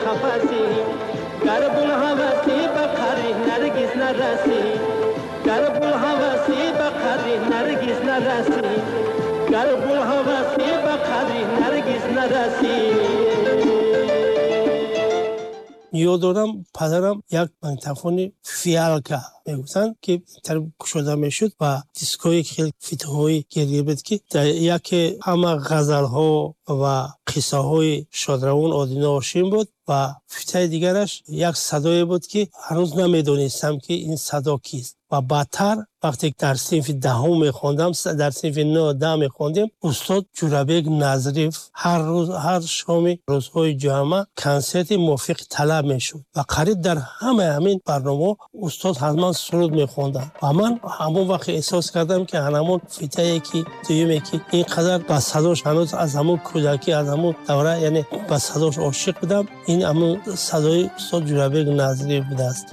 қафасӣ, гар булҳавасӣ ба қадри Наргиз нарасӣ, гар булҳавасӣ ба қадри Наргиз нарасӣ, гар булҳавасӣ ба қадри Наргиз нарасӣ. Ёд дорам, падарам як магнитофони «Фиалка» мегуфтанд, ки кушода мешуд ва дискҳои хеле фитҳои гирдгир буд, ки дар яке ҳама ғазалҳо ва қиссаҳои шодравон Одина Ҳошим буд ва фитаи дигараш як садое буд, ки ҳанӯз намедонистам, ки ин садо кист. Ва баъдтар, вақте дар синфи 10-ум мехондам, дар синфи 9-10 мехондем, устод Ҷӯрабек Назриев ҳар рӯз, ҳар шоми рӯзҳои ҷамъа консерти мувофиқи талаб мешуд ва қариб дар ҳамаи ҳамин барномаҳо устод ҳатман суруд мехонданд. Ва ман ҳамон вақт эҳсос кардам, ки ҳамон фитае ки дуюме, ки ин қадар ба садош ҳанӯз аз ҳамон кӯдакӣ, аз ҳамон давра, яъне ба садош ошиқ будам, ин ҳамон садои устод Ҷӯрабек Назриев будааст.